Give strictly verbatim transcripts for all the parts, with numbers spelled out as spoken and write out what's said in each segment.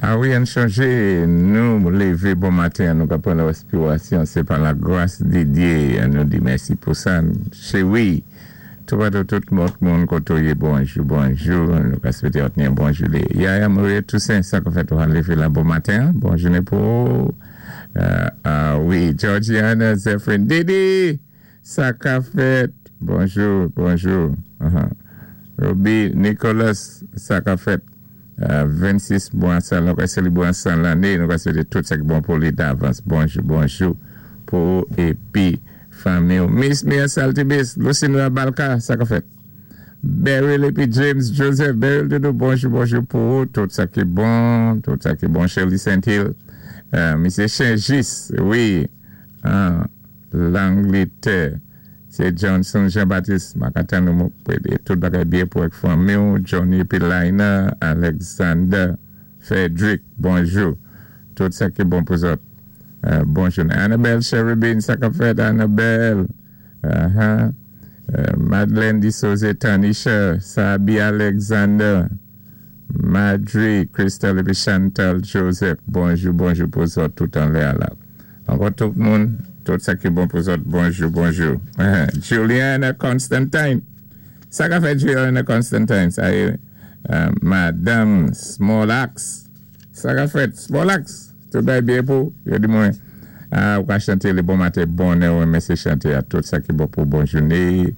A wi, ann chanjé, nou lévé bon maten, nou ka pran réspirasyon, sé pa la gras di Dye, nou di mèsi pou sa. Sé wi, tou patou tout moun koté ou yé, bonjou, bonjou, nou ka swété yon bon jounen. Yaya Marie Toussaint, sa ka fèt ou lévé la bon maten, bon jounen pou euh, a wi, Georgiana Zephyrin, Didi, sa ka fèt, bonjou, bonjou. Uh-huh. Roby Nicholas, sa ka fèt. Euh, vennsis mwa, sa, nou ka sélébwé san lanné, nou ka swété tout sa ki bon pou li davans. Bonjou, bonjou pou épi fanmi. Miss Mia Saltibis, Lucinda Balka, sa ka fèt. Beryl épi James Joseph, Beryl Doudou, bonjou, bonjou pou tout sa ki bon, tout sa ki bon, Shirley Saint-Hill, euh, Misye Chengis, wi, an Langletè, sé Johnson Jean-Baptiste, m ka tann nou tout bagay byen pou avèk fanmi, Johnny épi Lina, Alexander, Frederick, bonjou, tout sa ki bon pou zòt. Euh, bonjou. Annabelle Cherubin, sa ka fèt, Annabelle. Uh-huh. Euh, Madeleine Dissose, Tanisha, Sabi Alexander, Madri, Christelle épi Chantal Joseph. Bonjou, bonjou pou zòt tout anlè la. Ankò tout moun, tout sa ki bon pou zòt, bonjou, bonjou. Uh-huh. Juliana Constantine. Sa ka fèt Juliana Constantine, sa yé, euh, Madame Small Axe. Sa ka fèt, Small Axe. Tout bagay byen pou, yo di mwen, ah, ou ka chanté le bon maten, bonè, wi, men sé chanté a tout sa ki bon pou bon jounen.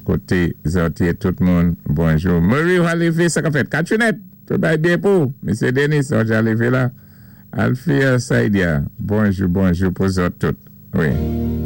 Koté zòt yé tout moun, bonjou. Marie Halivé, sa ka fèt, Catrinette, tout bagay byen pou. Misye Denis, on lévé la. Alfia Saidia, bonjou, bonjou pou zòt tout. Wi.